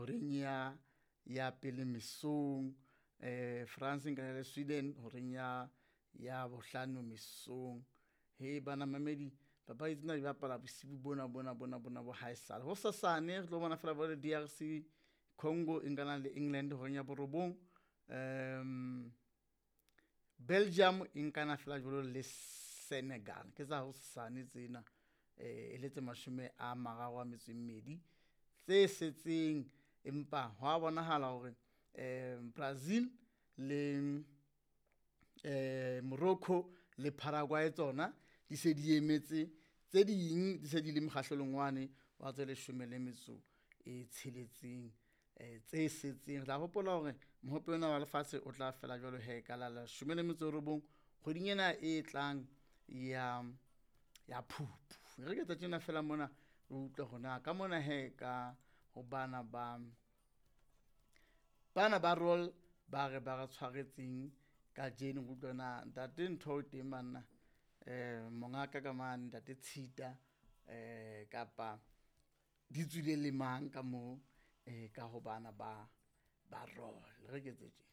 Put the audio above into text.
Horeng ya pele mesong, France e nkana le Sweden horeng ya bohlano mesong. He bana mamedi papadi tsena di bapala bosiu bona bona bona bona bo haesale. Hosasane re tlo bona fela le DRC Congo e nkana le England horeng ya borobong. Belgium e nkana fela jwalo le Senegal, ke tsa hosasane tsena e le tse 32 tse setseng. Empa hwa bonahala hore Brazil le Morocco le Paraguay tsona di se di emetse tse ding, di se di le mokgahlelong wane wa tse 16 tse setseng. Re tla hopola hore mohope ona wa lefatshe o tla fela jwalo he ka la 19 kgweding ena e tlang ya Phupu. Re ke tsa tjena fela mona re utlwe hore na ka mona he ka ho bana ba roll ba re ba re tshwaretseng kajeno. Re utlwe na ntate ntho o teng banna, mongaka ka mane ntate Tshita, kapa di tswile le mang ka moo, ka ho bana ba roll. Re ke tse tjena.